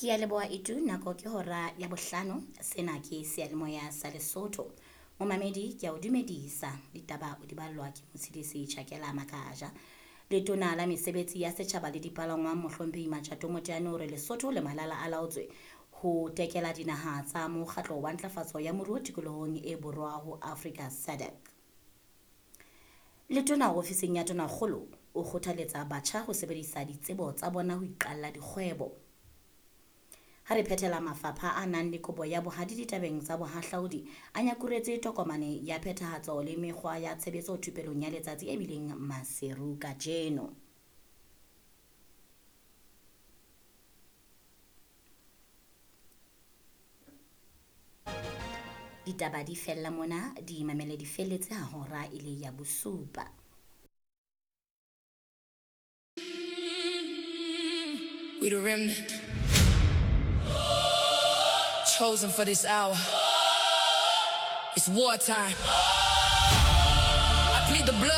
Ke ya leboha Itu, nako ke hora ya bohlano. Sena ke seyalemoya sa Lesotho. Momamedi ke a o dumedisa. Ditaba o di ballwa ke Motshidisi Chakela Makaja. Letona la mesebetsi ya setjhaba le dipalangwang Mohlomphehi Matjato Moteane o re Lesotho le Malala a laotswe ho tekela dinaha tsa mokgatlo wa ntlafatso ya moruo tikolohong e borwa ho Afrika SADC. Letona ofising ya Tonakgolo o kgothaletsa batjha ho sebedisa ditsebo tsa bona ho iqalla dikgwebo. Ha re phethela mafapha a nang le kobo ya bohadi ditabeng tsa bohahlaudi a nyakuretse tokomane ya phethahatso le mekgwa ya tshebetso thupelong ya letsatsi e bileng Maseru kajeno. Ditaba di fella mona, di mamele di felletse ha hora e le ya bosupa. We the remnant, chosen for this hour. It's wartime. I plead the blood.